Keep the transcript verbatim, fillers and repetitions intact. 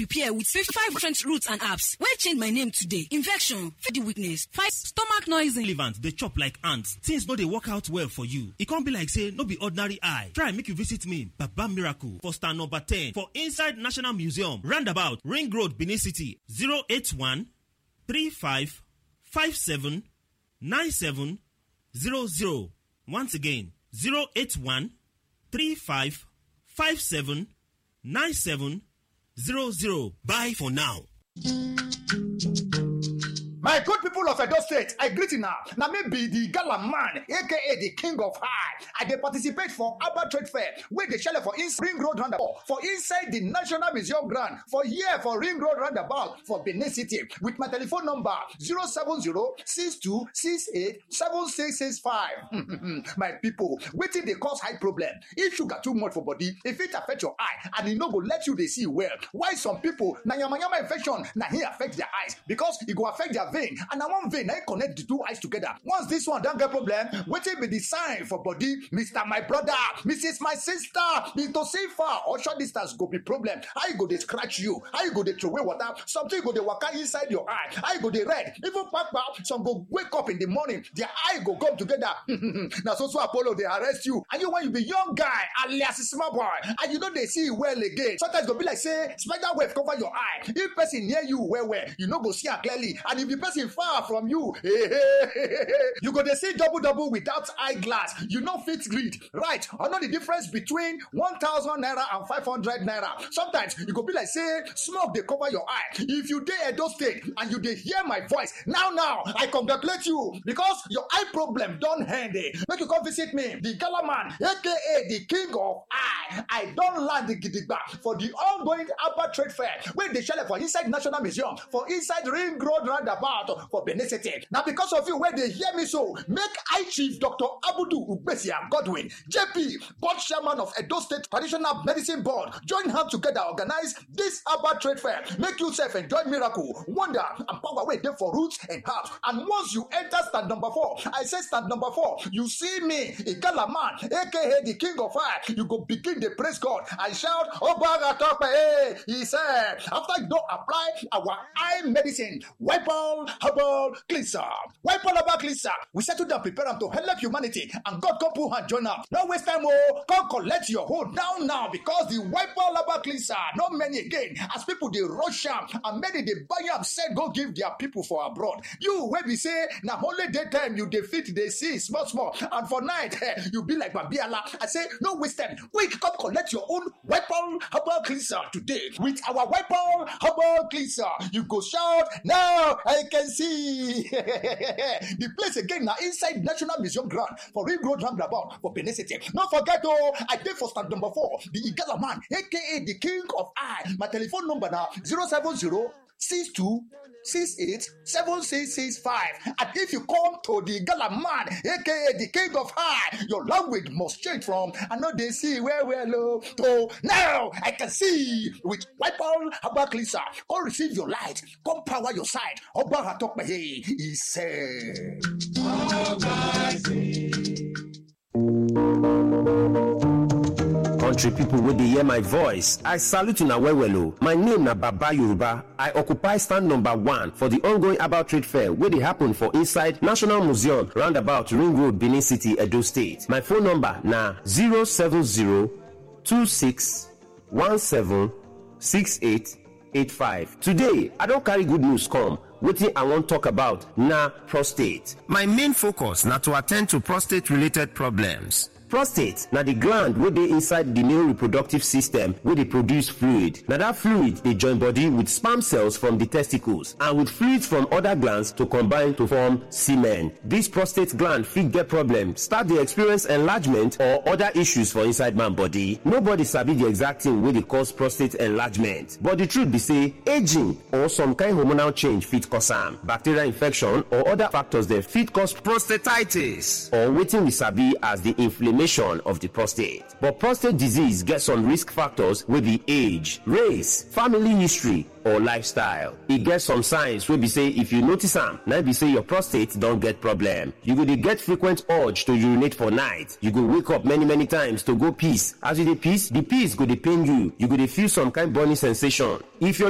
Pair with fifty-five different roots and herbs. Wey change my name today. Infection, feed weakness, fight, stomach noising. Relevant, dey chop like ants. Things no dey work out well for you. E come be like say no be ordinary eye. Try make you visit me, Baba Miracle, for stand number ten for inside National Museum, roundabout, Ring Road, Benin City, zero eight one three five five seven nine seven zero zero. Once again, zero eight one three five five seven nine seven zero zero. Bye for now. My good people of Edo State, I greet you now. Now me be the gala man, A K A the king of high. I dey participate for Abba Trade Fair, where they shell for East Ring Road roundabout, for inside the National Museum ground, for here for Ring Road roundabout, for Benin City, with my telephone number, zero seven zero six two six eight seven six six five. My people, wetin dey cause high problem? If sugar too much for body, e fit affect your eye, and e no go let you dey see well. Why some people na yamayama infection na hin affect their eyes? Because e go affect their vein, and na one vein na hin connect the two eyes together. Once this one don get problem, wetin be the sign for body? Mister My brother, Missus My sister, be to see far or short distance go be problem. How you go dey scratch you? How you go dey throway water? Something go dey waka inside your eye. How you go dey red? Even kpakpa, some go wake up in the morning, their eye go come together. Na so so Apollo dey arrest you. And you, when you be young guy, alias small boy, and you no dey see well again. Sometimes go be like say spider web cover your eye. If person near you well well, you no go see am clearly. And if the person far from you, you go dey see double double without eyeglass. You no fit read, right? I know the difference between one thousand naira and five hundred naira. Sometimes you go be like say smoke dey cover your eye. If you dey Edo State and you dey hear my voice now now, I congratulate you because your eye problem don end. Eh. Make you come visit me, the gala man, A K A the king of eye. I don land gidigba for the ongoing Abba Trade Fair wey dey shele for inside National Museum, for inside Ring Road roundabout for Benin City. Na because of you wey dey hear me so, make High Chief Doctor Abudu Ugbesia Godwin, J P, board chairman of Edo State Traditional Medicine Board, join hand together organize this Abba Trade Fair. Make yourself enjoy miracle, wonder, and power wey dey for roots and herbs. And once you enter stand number four, I say stand number four, you see me, Igala man, A K A the king of fire, you go begin dey praise God and shout, "Obaga Tope, eh," he said. After you don apply our eye medicine, Wipe All Herbal Cleanser. Wipe All Herbal Cleanser, we settle down, prepare am to help humanity, and God come put hand join am. No waste time, oh, come collect your hold down now, because the Wipe All Herbal Cleanser, not many again, as people dey rush am, and many dey buy am, sell go give their people for abroad. You wey be say na only daytime you dey fit dey see small small, and for night, eh, you be like Babiala. I say no waste time, quick come collect your own Wipe All Herbal Cleanser today. With our Wipe All Herbal Cleanser, you go shout, "Now I can see." The place again na inside National Museum ground for Ring Road roundabout for Benin City. No forget, oh, I dey for stand number four, the Igala man, A K A the king of eye. My telephone number na zero seven zero six two six eight seven six six five. And if you come to the Gala man, A K A the king of high, your language must change from "I no dey see well well," oh, to "Now I can see." With Wipe All Herbal Cleanser, come receive your light, come power your side. Oba Atokpehe, he said. Country people wey dey hear my voice, I salute una well well o. My name na Baba Yoruba. I occupy stand number one for the ongoing herbal trade fair wey dey happen for inside National Museum, roundabout Ring Road, Benin City, Edo State. My phone number na zero seven zero two six one seven six eight eight five. Today, I don carry good news come. Wetin I wan talk about na prostate. My main focus na to attend to prostate related problems. Prostate na the gland wey dey inside the male reproductive system wey dey produce fluid. Na that fluid dey join body with sperm cells from the testicles and with fluids from other glands to combine to form semen. This prostate gland fit get problem, start dey experience enlargement or other issues for inside man body. Nobody sabi the exact thing wey dey cause prostate enlargement, but the truth be say aging or some kind hormonal change fit cause am. Bacterial infection or other factors dem fit cause prostatitis, or wetin we sabi as the inflammation of the prostate. But prostate disease get some risk factors wey be age, race, family history, or lifestyle. E get some signs wey be say if you notice am, na be say your prostate don get problem. You go dey get frequent urge to urinate for night. You go wake up many many times to go piss. As you dey piss, the piss go dey pain you. You go dey feel some kind burning sensation. If your